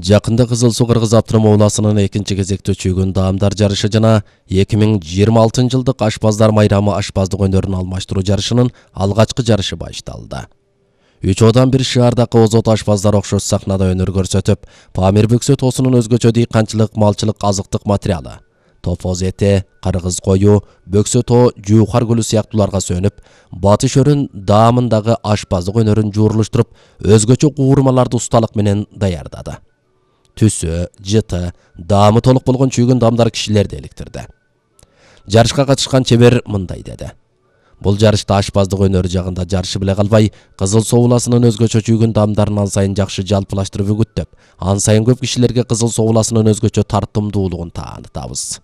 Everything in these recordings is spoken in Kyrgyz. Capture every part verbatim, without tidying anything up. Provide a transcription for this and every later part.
Жакында Кызыл Суу Кыргыз Автономия областынын экинчи кезекте чүйгүн даамдар жарышы жана эки миң жыйырма алтынчы жылдык ашпаздар майрамы ашпаздык өнөрүн алмаштыруу жарышынын алгачкы жарышы башталды. Үч одан бир шаардагы озот ашпаздар окшош сахнада өнөр көрсөтүп, Памир бөксө тоосунун өзгөчө дыйканчылык, малчылык, азыктык материалы, тофоз эти, кыргыз кою, бөксө тоо, жуухар гүлү сыяктууларга сөнүп, батыш өрүн даамындагы ашпаздык өнөрүн жуурулуштуруп, өзгөчө куурмаларды усталык менен даярдады. Түсү, жыты, даамы толук болгон чүйгүн даамдар кишилерди эликтирди. Жарышка катышкан чебер мындай деди: Бул жарышта ашпаздык өнөрү жагында жарышы беле калбай, Кызыл Суу областынын өзгөчө чүйгүн даамдарын ан сайын жакшы жалпылаштырып үгүттөп, ан сайын көп кишилерге Кызыл Суу областынын өзгөчө тартымдуулугун таанытабыз.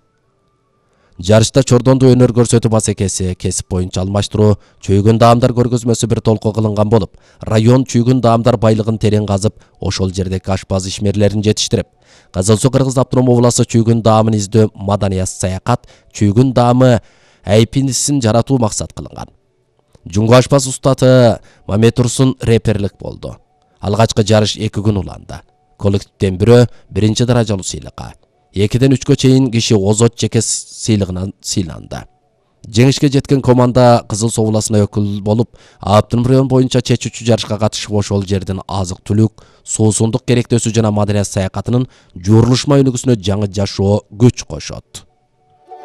Жарышта чордондуу өнөр көрсөтүү басекеси, кесип боюнча алмаштыруу, чүйгүн даамдар көргөзмөсү бир толко кылынган болуп, район чүйгүн даамдар байлыгын терең казып, ошол жердеги ашпаз ишмерлерин жетиштирип, Кызыл Суу Кыргыз Автономия областы чүйгүн даамын издөө маданият саякат, чүйгүн даамы айпинисин жаратуу максат кылынган. Жуңгу ашпаз устаты Мамет Турсун реперлик болду. Алгачкы жарыш эки күн уланды. Коллективден бирөө биринчи даражалуу сыйлыкка, экиден үчкө чейин киши озот жеке сыйлыгынан сыйланды. Жеңишке жеткен команда Кызыл Суу областына өкүл болуп, автоном район боюнча чечүүчү жарышка катышып, ошол жердин азык-түлүк, суусундук керектөөсү жана маданият саякатынын жуурулушма өнүгүүсүнө жаңы жашоо күч кошот.